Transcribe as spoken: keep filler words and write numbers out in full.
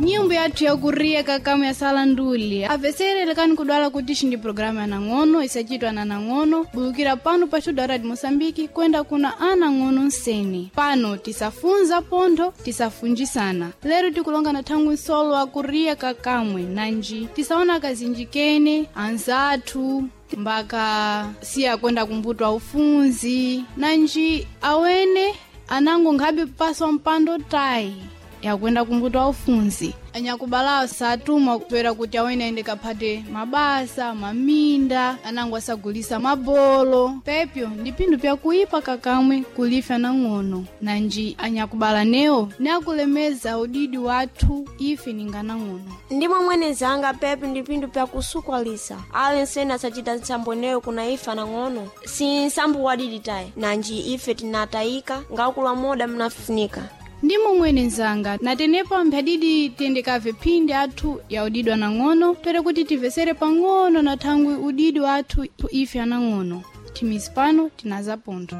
Nyimbo yathu yakuriya kakamu ya salanduli aveserelekani kudwala kuti xindi programa ya nang'ono isachitwa na nang'ono bulukira pano pa studio Radio Moçambique kwenda kuna anang'ono nsene pano tisafunza pontho tisafunjisana. Lero tikulonga na thangwi nsolo akuriya kakamwe nanji tisaona kazinji kene anzathu mbaka siya kwenda kumbuto aufunzi nanji awene anango nkhabe paswa mpando tayi yakwenda kumbuto aufunzi. Anyakubalawo satumwa kupera kuti awene aende kaphate mabasa maminda anango asagulisa mabolo pepyo ndi pinthu pyakuipa kakamwe kulifya nang'ono nanji anyakubala newo neakulemeza udidi wathu ife ninga nang'ono. Ndimo mwenezanga pepi ndi pinthu pyakusukwalisa ali nsene asachita ntsambo ineyo kuna ife anang'ono si nsambo wadidi tayi nanji ife tinatayika ngakula moda mnafunika. Ndimo mwene nzanga natenepa mphadidi tiyendekave phindi athu ya udidi anang'ono tere kuti timvesere pang'ono na thangwi udidi wathu ife anang'ono. Thimizi pano tinaza pontho.